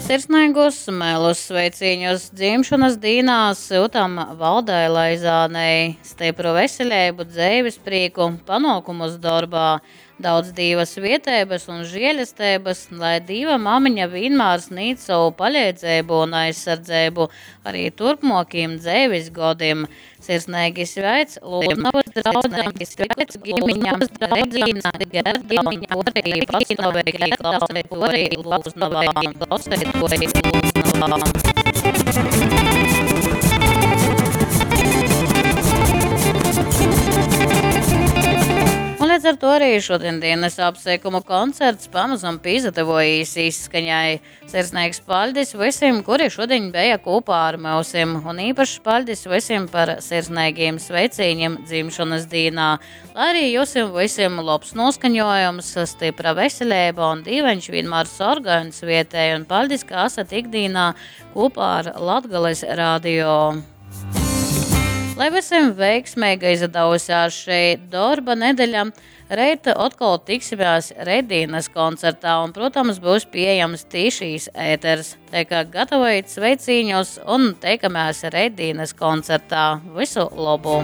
Sirsneigus melus sveicīņus dzimšanas dīnā syutam Valdai Laizānei. Stipru veseleibu, dzeives prīku, panokumus dorbā, daudz Dīva svieteibas un žielesteibas, lai Dīva mamiņa vienmēr sniedz savu paleidzeibu un aizsardzeibu arī turpmokiem dzeives godim. Sirsneigi sveic Lūznavas draudze, sveic ģimiņa, Regīna, Gerda un Porī, pastāvīgi klausētoji Lūznavā, klausētoji Lūznavā. Un līdz ar to arī šodienas apsveikumu koncerts pamazam pīzatavojīs izskaņai. Sirsnīgs paļdis visiem, kuri šodien bija kopā ar mūsim, un īpašs paļdis visiem par sirsnīgiem sveicīņiem dzimšanas dīnā. Lai arī jūsim visiem labs noskaņojums, stipra veselība un dīveņš vienmēr sorgā un svietē, un paļdis, ka esat ikdīnā kopā ar Latgales radio. Lai visiem veiksmīga izdevusies šī darba nedeļa, reit atkal tiksimies Redīnas koncertā un, protams, būs pieejams tīšīs ēters. Tā kā gatavojiet sveicīņus un teikamies Redīnas koncertā. Visu labu!